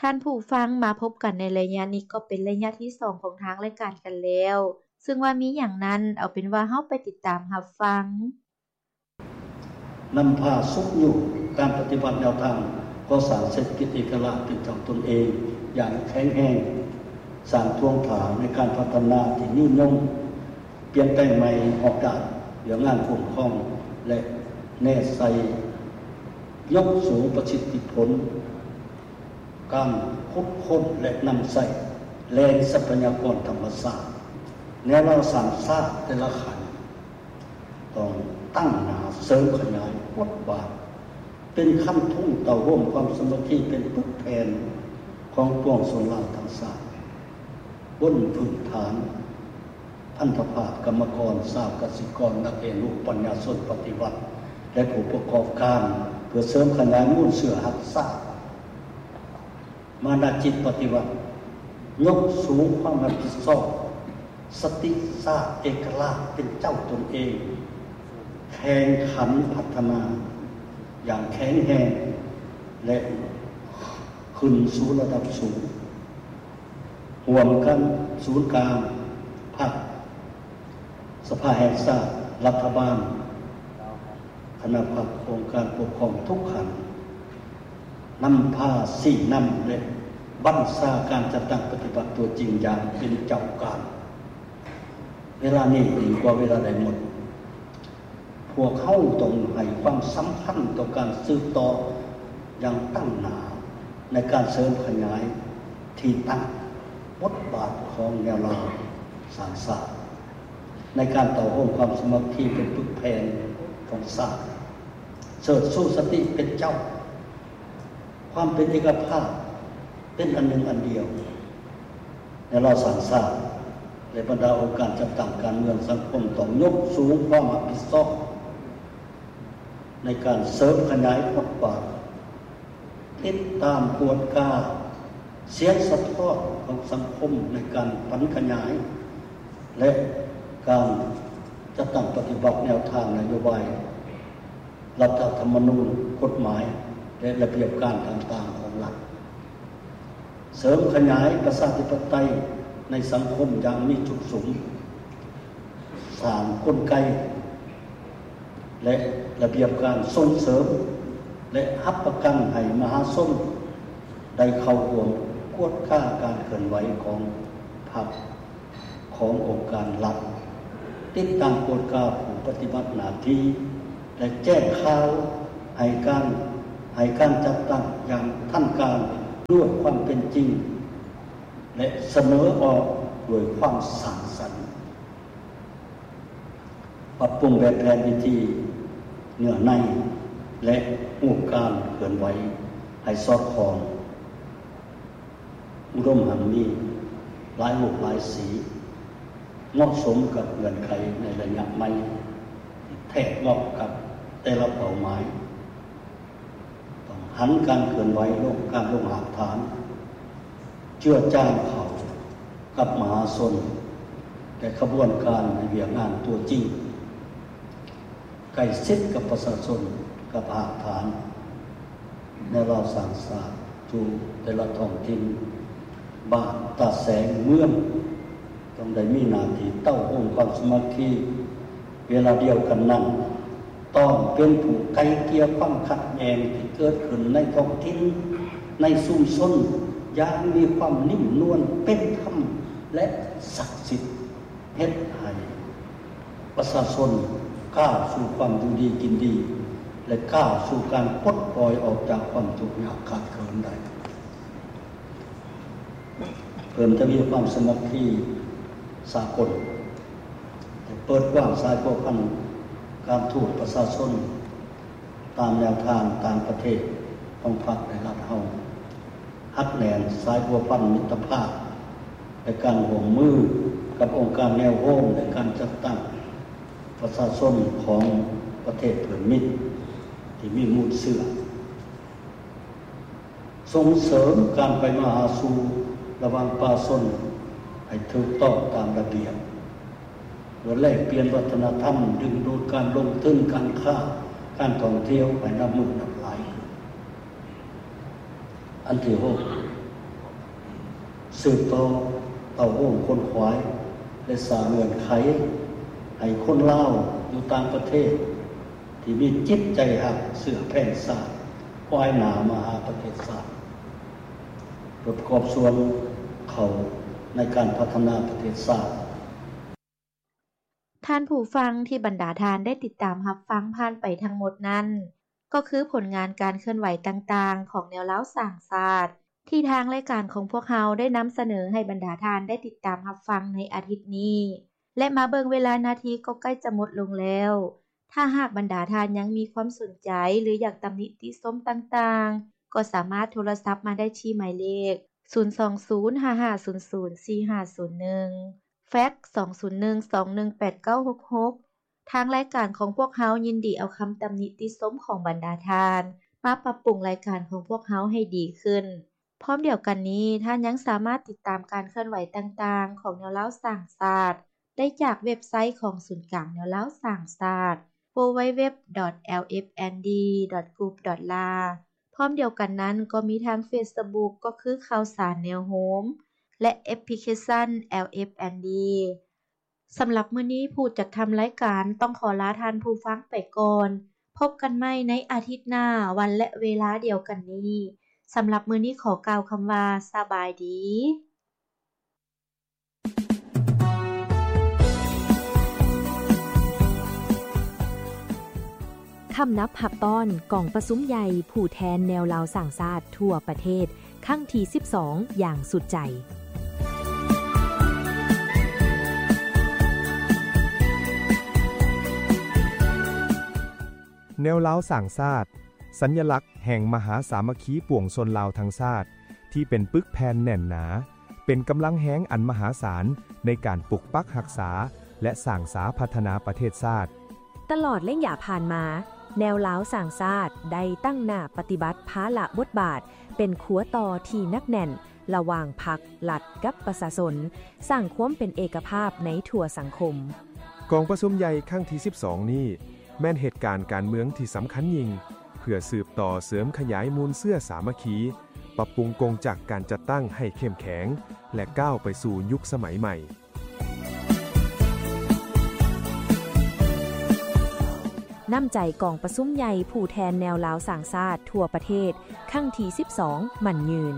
ທ່ານຜູ້ຟັງ, ມາພົບກັນໃນໄລຍະນີ້ກໍເປັນໄລຍະທີສອງຂອງທາງລາຍການກັນແລ້ວ, ເຊິ່ງວ່າມີຫຍັງນັ້ນ, ເອົາເປັນວ່າເຮົາໄປຕິດຕາມຮັບຟັງ. ນຳພາຊຸກຍູ້ການປະຕິບັດແນວທາງກໍ່ສ້າງເສດຖະກິດເອກະລາດເປັນເຈົ້າຕົນເອງຢ່າງແຂງແຮງ, ສ້າງທວງຖານໃນການພັດທະນາທີ່ຍືນຍົງ, ປ່ຽນແປງໃໝ່ຮອບດ້ານວຽກງານຄຸ້ມຄອງ ແລະ ແນໃສ່ຍົກສູງປະສິດທິຜົນ ການຂຸດຄົ້ນ ແລະ ນຳໃຊ້ແຫຼ່ງຊັບພະຍາກອນທຳມະຊາດ. ແນວລາວສ້າງຊາດແຕ່ລະຂັ້ນ ຕ້ອງຕັ້ງໜ້າເສີມຂະຫຍາຍບົດບາດເປັນຄັນທຸງເຕົ້າໂຮມຄວາມສາມັກຄີເປັນປຶກແຜ່ນຂອງປວງຊົນລາວທັງຊາດ, ບົນພື້ນຖານ ພັນທະພາບກຳມະກອນ, ຊາວກະສິກອນ, ນັກຮຽນຮູ້, ປັນຍາຊົນປະຕິວັດ ແລະ ຜູ້ປະກອບການ ເພື່ອເສີມຂະຫຍາຍມູນເຊື້ອຮັກຊາດ. ມານະຈິດປະຕິວັດ, ຍົກສູງຄວາມຮັບຜິດຊອບ, ສະຕິຊາດເອກະລາດເປັນເຈົ້າຕົນເອງ, ແຂ່ງຂັນພັດທະນາຢ່າງແຂງແຮງ ແລະ ຂຶ້ນສູ່ລະດັບສູງ. ຮ່ວມກັນສູນກາງພັກ, ສະພາແຫ່ງຊາດ, ລັດຖະບານ, ຄະນະພັກ, ອົງການປົກຄອງທຸກຂັ້ນ ນຳພາຊີ້ນຳ ແລະ ບັນຊາການຈັດຕັ້ງປະຕິບັດຕົວຈິງຢ່າງເປັນເຈົ້າການ. ເວລານີ້ຍິ່ງກວ່າເວລາໃດໝົດ, ພວກເຮົາຕ້ອງໃຫ້ຄວາມສຳຄັນຕໍ່ການສືບຕໍ່ຢ່າງຕັ້ງໜ້າ ໃນການເສີມຂະຫຍາຍທີ່ຕັ້ງບົດບາດຂອງແນວລາວສ້າງຊາດ ໃນການເຕົ້າໂຮມຄວາມສາມັກຄີເປັນປຶກແຜ່ນຂອງຊາດ, ເຊີດຊູສະຕິເປັນເຈົ້າ, ຄວາມເປັນເອກະພາບ, ເປັນອັນໜຶ່ງອັນດຽວ. ແນວລາວສ້າງຊາດ ແລະ ບັນດາອົງການຈັດຕັ້ງການເມືອງສັງຄົມ ຕ້ອງຍົກສູງຄວາມຮັບຜິດຊອບໃນການເສີມຂະຫຍາຍບົດບາດ, ຕິດຕາມກວດກາສຽງສະທ້ອນຂອງສັງຄົມໃນການຝັນຂະຫຍາຍ ແລະ ການຈັດຕັ້ງປະຕິບັດແນວທາງນະໂຍບາຍ ລັດຖະທຳມະນູນ, ກົດໝາຍ ແລະ ລະບຽບການຕ່າງໆຂອງລັດ, ເສີມຂະຫຍາຍປະຊາທິປະໄຕໃນສັງຄົມຢ່າງມີຈຸດສຸມ, ສ້າງກົນໄກ ແລະ ລະບຽບການສົ່ງເສີມ ແລະ ຮັບປະກັນໃຫ້ມະຫາຊົນໄດ້ເຂົ້າຮ່ວມກວດກາການເຄື່ອນໄຫວຂອງພັກ, ຂອງອົງການລັດ, ຕິດຕາມກວດກາຜູ້ປະຕິບັດໜ້າທີ່ ແລະ ແຈ້ງຂ່າວໃຫ້ການ, ໃຫ້ການຈັດຕັ້ງຢ່າງທັນການດ້ວຍຄວາມເປັນຈິງ ແລະ ສະເໜີອອກດ້ວຍຄວາມສ້າງສັນ, ປັບປຸງແບບແຜນວິທີ, ເນື້ອໃນ ແລະ ຮູບການເຄື່ອນໄຫວໃຫ້ສອດຄ່ອງ ອຸດົມຮັ່ງມີ, ຫຼາຍຮູບຫຼາຍສີ, ເໝາະສົມກັບເງື່ອນໄຂໃນໄລຍະໃໝ່, ແທກເໝາະກັບແຕ່ລະເປົ້າໝາຍ. ຕ້ອງຫັນການເຄື່ອນໄຫວລົງ, ການລົງຮາກຖານ, ເຈືອຈາງເຂົ້າກັບມະຫາຊົນ ແລະ ຂະບວນການໃນວຽກງານຕົວຈິງ. ໃກ້ຊິດກັບປະຊາຊົນ, ກັບຮາກຖານ, ແນວລາວສ້າງຊາດຢູ່ແຕ່ລະທ້ອງຖິ່ນ, ບ້ານ, ຕາແສງ, ເມືອງ ຕ້ອງໄດ້ມີໜ້າທີ່ເຕົ້າໂຮມຄວາມສາມັກຄີ. ເວລາດຽວກັນນັ້ນ, ຕ້ອງເປັນຜູ້ໄກ່ເກ່ຍຄວາມຂັດແຍ່ງທີ່ເກີດຂຶ້ນໃນທ້ອງຖິ່ນ, ໃນຊຸມຊົນ ຢ່າງມີຄວາມນຸ່ມນວນ, ເປັນທຳ ແລະ ສັກສິດ. ເຮັດໃຫ້ປະຊາຊົນກ້າວສູ່ຄວາມຢູ່ດີກິນດີ ແລະ ກ້າວສູ່ການປົດປ່ອຍອອກຈາກຄວາມທຸກຍາກຂາດເຂີນໄດ້. ເພີ່ມທະວີຄວາມສາມັກຄີສາກົນ ແລະ ເປີດກວ້າງສາຍພົວພັນການທູດປະຊາຊົນ ຕາມແນວທາງຕ່າງປະເທດຂອງພັກ ແລະ ລັດເຮົາ, ຮັດແໜ້ນສາຍພົວພັນມິດຕະພາບ ແລະ ການຮ່ວມມືກັບອົງການແນວໂຮມ ແລະ ການຈັດຕັ້ງປະຊາຊົນຂອງປະເທດເພື່ອນມິດທີ່ມີມູນເຊື້ອ, ສົ່ງເສີມການໄປມາຫາສູ່ລະຫວ່າງປະຊາຊົນໃຫ້ຖືກຕ້ອງຕາມລະບຽບ, ເພື່ອແລກປ່ຽນວັດທະນະທຳ, ດຶງດູດການລົງທຶນ, ການຄ້າ, ການທ່ອງທ່ຽວໃຫ້ນັບມື້ນັບຫຼາຍຂຶ້ນ. ອັນທີຫົກ, ສືບຕໍ່ເຕົ້າໂຮມຂົນຂວາຍ ແລະ ສ້າງເງື່ອນໄຂໃຫ້ຄົນລາວຢູ່ຕ່າງປະເທດ ທີ່ມີຈິດໃຈຮັກເຊື້ອແພງຊາດ ຄວາຍໜ້າມາຫາປະເທດຊາດ ເພື່ອປະກອບສ່ວນເຂົ້າໃນການພັດທະນາປະເທດຊາດ. ທ່ານຜູ້ຟັງທີ່ບັນດາທ່ານໄດ້ຕິດຕາມຮັບຟັງຜ່ານໄປທັງໝົດນັ້ນ ກໍຄືຜົນງານການເຄື່ອນໄຫວຕ່າງໆຂອງແນວລາວສ້າງຊາດ ທີ່ທາງລາຍການຂອງພວກເຮົາໄດ້ນຳສະເໜີໃຫ້ບັນດາທ່ານໄດ້ຕິດຕາມຮັບຟັງໃນອາທິດນີ້ ແລະ ມາເບິ່ງເວລານາທີກໍໃກ້ຈະໝົດລົງແລ້ວ. ຖ້າຫາກບັນດາທ່ານຍັງມີຄວາມສົນໃຈ ຫຼື ຢາກຕຳນິຕິຊົມຕ່າງໆ ກໍສາມາດໂທລະສັບມາໄດ້ທີ່ໝາຍເລກ ສູນສອງສູນ ຫ້າຫ້າສູນສູນ ສີ່ຫ້າສູນໜຶ່ງ ແຟັກ ສອງສູນໜຶ່ງ ສອງໜຶ່ງແປດ ເກົ້າຫົກຫົກ. ທາງລາຍການຂອງພວກເຮົາຍິນດີເອົາຄຳຕຳນິຕິຊົມຂອງບັນດາທ່ານ ມາປັບປຸງລາຍການຂອງພວກເຮົາໃຫ້ດີຂຶ້ນ. ພ້ອມດຽວກັນນີ້, ທ່ານຍັງສາມາດຕິດຕາມການເຄື່ອນໄຫວຕ່າງໆຂອງແນວລາວສ້າງຊາດ ໄດ້ຈາກເວັບໄຊຂອງສູນກາງແນວລາວສ້າງຊາດ ดัບເບິນຢູດັບເບິນຢູດັບເບິນຢູດັບເບິນຢູ ດອດ ແອລ ເອັຟ ເອັນ ດີ ດອດ ກຣຸບ ດອດ ລາ. ພ້ອມດຽວກັນນັ້ນກໍມີທາງເຟສບຸກ ກໍຄືຂ່າວສານແນວໂຮມ ແລະ ແອັບພລິເຄຊັນ ແອລ ເອັຟ ເອັນ ດີ. ສຳລັບມື້ນີ້ ຜູ້ຈັດທຳລາຍການຕ້ອງຂໍລາທ່ານຜູ້ຟັງໄປກ່ອນ. ພົບກັນໃໝ່ໃນອາທິດໜ້າ ວັນ ແລະ ເວລາດຽວກັນນີ້. ສຳລັບມື້ນີ້ຂໍກ່າວຄຳວ່າ ສະບາຍດີ. ຄຳນັບຮັບຕ້ອນກອງປະຊຸມໃຫຍ່ຜູ້ແທນແນວລາວສ້າງຊາດທົ່ວປະເທດ ຄັ້ງທີສິບສອງ ຢ່າງສຸດໃຈ. ແນວລາວສ້າງຊາດ, ສັນຍະລັກແຫ່ງມະຫາສາມັກຄີປວງຊົນລາວທັງຊາດ ທີ່ເປັນປຶກແຜ່ນແໜ້ນໜາ, ເປັນກຳລັງແຮງອັນມະຫາສານໃນການປົກປັກຮັກສາ ແລະ ສ້າງສາພັດທະນາປະເທດຊາດ. ຕະຫຼອດໄລຍະຜ່ານມາ, ແນວລາວສ້າງຊາດໄດ້ຕັ້ງໜ້າປະຕິບັດພາລະບົດບາດເປັນຂົວຕໍ່ທີ່ໜັກແໜ້ນລະຫວ່າງພັກ, ລັດ ກັບປະຊາຊົນ, ສ້າງຄວາມເປັນເອກະພາບໃນທົ່ວສັງຄົມ. ກອງປະຊຸມໃຫຍ່ຄັ້ງທີສິບສອງນີ້ ແມ່ນເຫດການການເມືອງທີ່ສຳຄັນຍິ່ງ ເພື່ອສືບຕໍ່ເສີມຂະຫຍາຍມູນເຊື້ອສາມັກຄີ, ປັບປຸງກົງຈັກການຈັດຕັ້ງໃຫ້ເຂັ້ມແຂງ ແລະ ກ້າວໄປສູ່ຍຸກສະໄໝໃໝ່. ນ້ຳໃຈກອງປະຊຸມໃຫຍ່ຜູ້ແທນແນວລາວສ້າງຊາດທົ່ວປະເທດ ຄັ້ງທີສິບສອງ ໝັ້ນຍືນ.